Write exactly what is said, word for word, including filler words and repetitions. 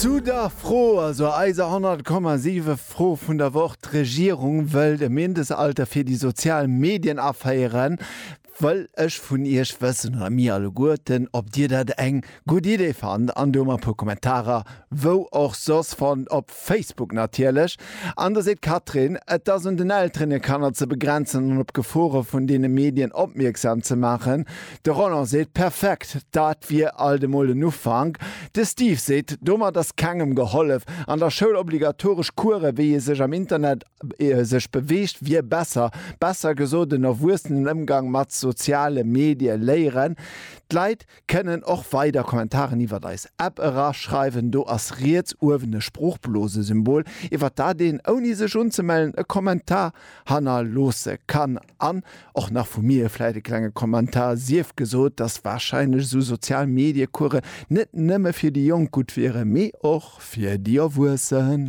Zu der Fro, also eiser honnert Komma siwe Fro vun der Woch, D'Regierung wëllt e Mindestalter fir déi sozial Medien aféieren. Wëll ech vun Iech wëssen, oder mir alleguerten, ob Dir dat eng gutt Idee fannt. An do hu mer e puer Kommentarer, wou och soss, fonnt, op Facebook natierlech. An do seet d'Catherine, Et ass un den Elteren, hir Kanner ze begrenzen an op d'Gefore vun deene Medien opmierksam ze maachen. De Roland seet, Perfekt, dat wier alt emol en Ufank. De Steve seet, Domat ass kengem gehollef. An der Schoul obligatoresch Course wéi ee sech am Internet sech beweegt wier besser. Besser gesot en erwuessenen Ëmgang mat soziale Medie léieren. D'Leit kënnen och weider Kommentaren iwwert eis App eraschreiwen. Do ass riets uewen e Sproochblosesymbol, iwwert dat een, ouni sech unzemellen, e Kommentar hannerloosse kann. An och nach vu mir vläit e klenge Kommentar, sief gesot, dass warscheinlech esou sozial Medie-Coursen net nëmme fir déi Jonk gutt wieren, mee och fir déi Erwuessen.